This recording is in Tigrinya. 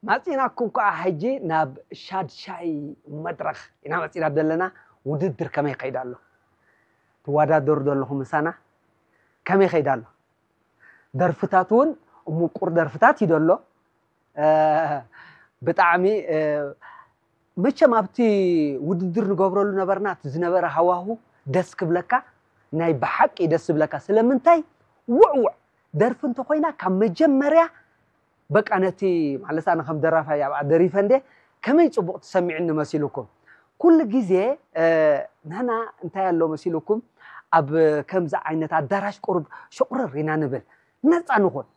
ማፂናኩም ከዓ ሕጂ ናብ ሻድሻይ መድረኽ ኢና መፂና ዘለና። ውድድር ከመይ ይኸይድ ኣሎ? ትወዳደሩ ዘለኹም ምሳና? ከመይ ይኸይድ ኣሎ? ደርፍታት እውን ምቁር ደርፍታት እዩ ዘሎ። ብጣዕሚ መቸም ኣብቲ ውድድር ንገብረሉ ነበርና። እቲ ዝነበረ ሃዋሁ ደስ ክብለካ፣ ናይ ብሓቂ ደስ ዝብለካ። ስለምንታይ? ውዕውዕ ደርፊ እንተኮይና ካብ መጀመርያ በቃ ነቲ ማለት ኣነ ከም ደራፋይ ኣብኣ ደሪፈ እንደ ከመይ ፅቡቕ ትሰሚዕኒ መሲልኩም። ኩሉ ግዜ ንሕና እንታይ ኣሎ መሲልኩም፣ ኣብ ከምዚ ዓይነት ኣዳራሽ ቁሩብ ሸቑረር ኢና ንብል፣ ነፃ ንኹን።